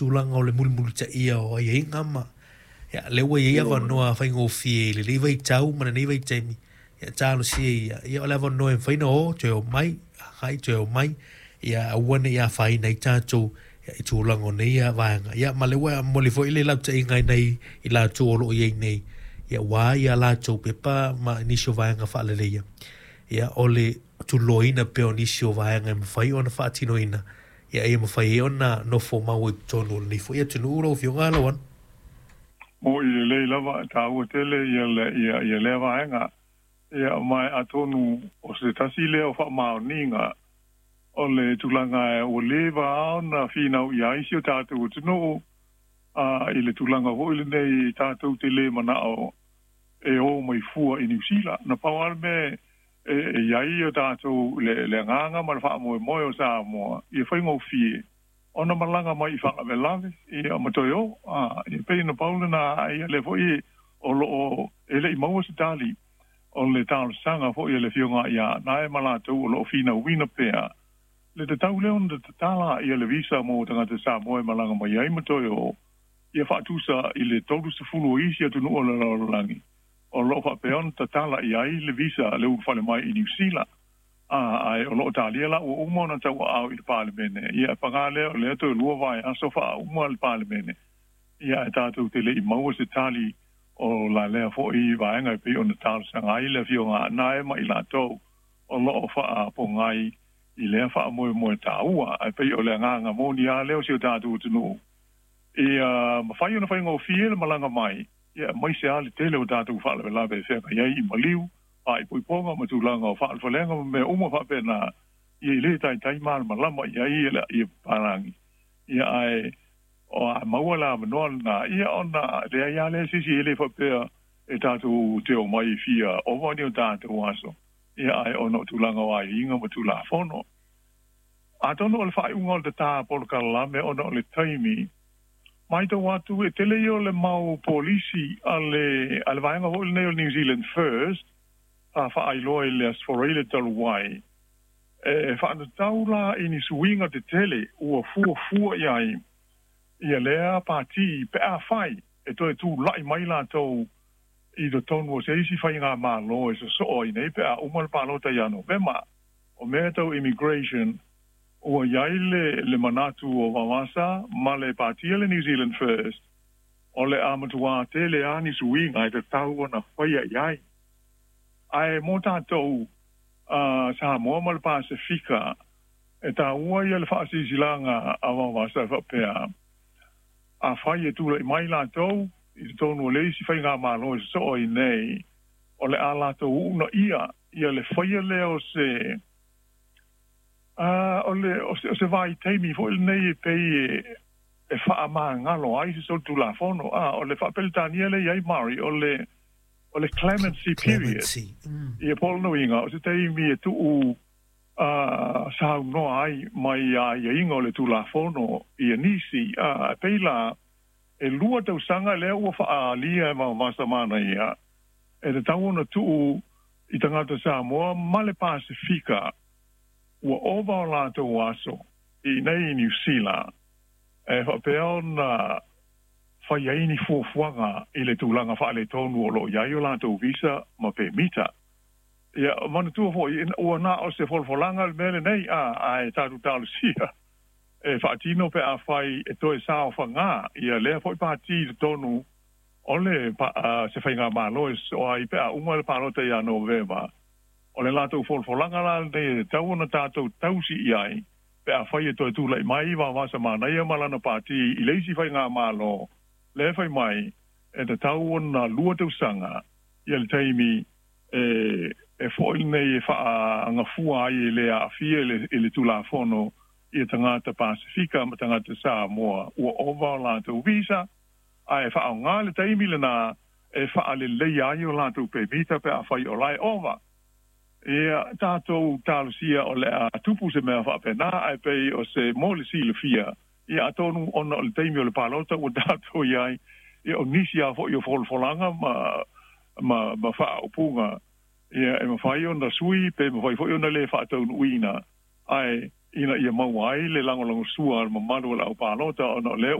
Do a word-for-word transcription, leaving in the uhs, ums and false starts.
tulaga o le mulimulitaia o aiaiga ma ia lea ua iai avanoa faigofie i lenei vaitau ma lenei vaitaimi. Ia talosia ia, ia o le avanoa e mafai ona o toe omai agai toe omai, ia aua ne i afaina ai tatou ia, i tulaga o nei vaega. Ia ma le ua momoli foi le lautaiga i nai i latou o loo i ai nei, ia ua ia latou pepa ma nisi o vaega faaleleia, ia o le tuloina pea o nisi o vaega e mafai ona faatinoina, ia ia mafai ai ona nofo mau i totonu o lenei foi atunuu lau Afioga Lauano. Mo i lelei lava taua tele ia le ia ia lea vaega. Ia mai atonu o se tasi lea o faamaoniga o le tulaga ua leva ona finau i ai si o tatou atunuu a i le tulaga foi lenei tatou te le manao e o mai fua i Niu Sila. Na pau lava le mea e e i ai o tatou le le agaga ma le faamoemoe o Samoa ia faigofie ona malaga mai i faalavelave ia ma toe o a ia pei na pau lena ia le foi o loo e le'i maua se tali o le talosaga foi a le Afioga ia Nae ma latou o loo finauina pea le tatau lea ona tatala ia le visa mo tagata Samoa e malaga mai ai ma toe o ia faatusa i le tolu sefulu o isi atunuu o le lalolagi o loo faapea ona tatala i ai le visa le ulufale mai i Niu Sila. A ae o loo talia la ua uma ona tauaao i le Palemene. Ia paga lea o lea toe lua vaiaso faauma le Palemene, ia ae tatou te le'i maua se tali o la lea fo'i vaega e pei ona talosaga ai le Afioga Nae ma i latou o loo faapogai i lea faamoemoe taua. Ae pei o le agaga moni lava lea o si o tatou atunuu ia mafai ona faigofie le malaga mai, ia aemaise lava le tele o tatou faalavelave e feagai ai i maliu, faaipoipoga ma tulaga o faalefalega ma mea uma faapena, ia i le taitai malamalama i ai ia ia papalagi. Ia ae o a maua le avanoa lena, ia ona leai lava lea se isi e le faapea e tatou te omai fia ova ni o tatou aso, ia ae ona o tulaga o aiaiga ma Tulafono. Atonu o le faaiuga o le tatā polokalame ona o le taimi, matau atu e tele ia o le mau polisi a le a le vaega foi lenei o le New Zealand First sa faailoa i le Aso Faraile talu ai, e faatatau la i ni suiga tetele ua fuafua i ai ia lea pati pe afai e toe tula'i mai latou i totonu o se isi faigamalo e sosoo ai nei pe a uma le palota ia Novema. O mea tau immigration ua i ai le le manatu o Vaovasa ma le patia le New Zealand First o le a matuā tele lava ni suiga e tatau ona faia i ai. Ae mo tatou a Samoa ma le Pasefika e taua ia le faasilasilaga a Vaovasa e faapea, afai e tula'i mai latou i totonu o le isi faigamalo e sosoo ai nei, o le a latou uunaia ia le faia lea o se a o le o se o se vaitaimi foi lenei e pei e e faamagalo ai se solitulafono. A o le Faapeletania lea i ai Mari o le o le clemency period. Clemency. Mm. Ia po o lona uiga o se taimi e tuu a saunoa ai mai aiaiga o le Tulafono ia nisi. A e pei la e lua tausaga lea ua faaalia e Vaovasa manaia e tatau ona tuu i tagata Samoa ma le Pasefika ua ova o latou aso i nei i Niu Sila e faapea ona fai ai ni fuafuaga i le tulaga faaletonu o loo i ai o latou visa ma pemita. Ia manatua foi ua na o se folafolaga le mea lenei a ae tatou talosia e faatino pe afai e toe saofagā ia lea foi pati i totonu o le se faigamalo e sosoo ai pe a uma le palota ia Novema. O le latou folafolaga la lenei e tatau ona tatou tausi i ai pe afai e toe tula'i mai Vaovasa Manaia ma lana pati i le isi faigamalo lea fai mai e tatau ona lua tausaga ia le taimi e e fo'i lenei e faagafua ai e le aafia i le i le Tulafono ia tagata Pasefika ma tagata Samoa ua ova o latou visa, ae faaaogā le taimi lenā e faaleleia ai o latou pemita pe afai o la e ova. Ia tatou talosia o le a tupu se mea faapena, ae pei o se mo le silafia, ia atonu ona o le taimi o le palota ua tatou i ai, ia o nisi lava foi o folafolaga ma ma ma faaupuga ia e mafai ona sui pe mafai foi ona le faataunuuina, ae ina ia maua ai le lagolagosua a le mamalu o le aupalota ona o lea ua